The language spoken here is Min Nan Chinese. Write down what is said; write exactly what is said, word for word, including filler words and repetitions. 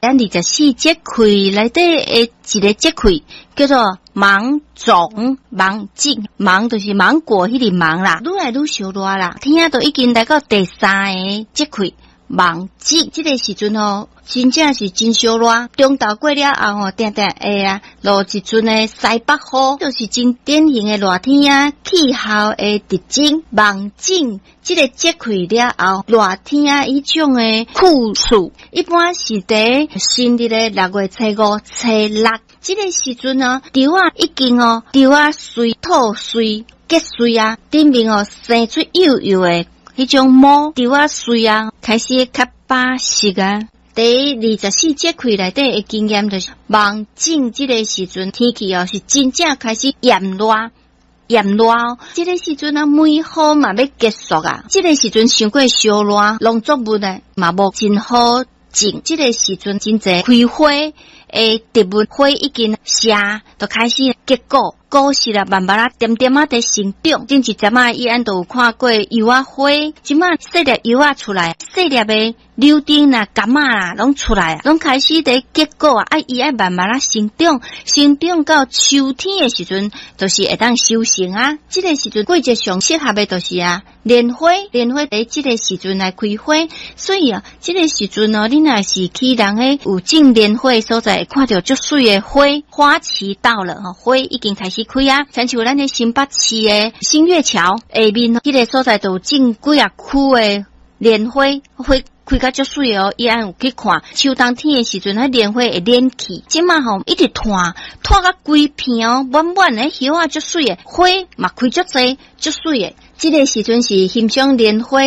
咱二十四節氣內底的一个節氣，叫做芒種。芒種，芒就是芒果彼个芒啦，愈來愈燒熱啦，天仔都已經來到第三个節氣。芒種這个時陣吼，真正是真燒熱。中晝過了後吼，定定會啊落一陣的西北雨，就是真典型的熱天仔氣候的特徵。芒種這个節氣了後，熱天仔彼種的酷暑，一般是佇新曆的六月初五、初六。這个時陣哦，稻仔已經哦，稻仔穗吐穗結穗啊，頂面哦生出幼幼的彼種毛，稻仔穗啊，開始較飽實啊。佇二十四節氣內底的經驗就是，芒種這个時陣天氣哦是真正開始炎熱，炎熱哦。這个時陣啊，梅雨嘛欲結束啊。這个時陣傷過燒熱，農作物呢嘛無真好種。這个時陣真濟開花的植物花已經謝，就開始結果。果實啊，慢慢仔點點仔佇成長。頂一陣仔，伊按都有看過柚仔花，這馬細粒柚仔出來，細粒的柳丁啦、柑仔啦，攏出來啊，攏開始佇結果啊。啊，伊愛慢慢仔成長，成長到秋天的時陣，就是會當收成啊。這个時陣季節上適合的就是啊，蓮花，蓮花佇這个時陣來開花，所以啊，這个時陣哦，你若是去人彼有種蓮花的所在，會看著足媠的花，花期到了吼，花已經開始開啊，親像咱的新北市的新月橋下面，彼个所在就有種幾仔區的蓮花，花開甲足媠哦。伊按有去看秋冬天的時陣，彼蓮花會蔫去。這馬吼一直湠，湠甲規片哦，滿滿的葉仔足媠的，花嘛開足濟，足媠的。這个時陣是欣賞蓮花。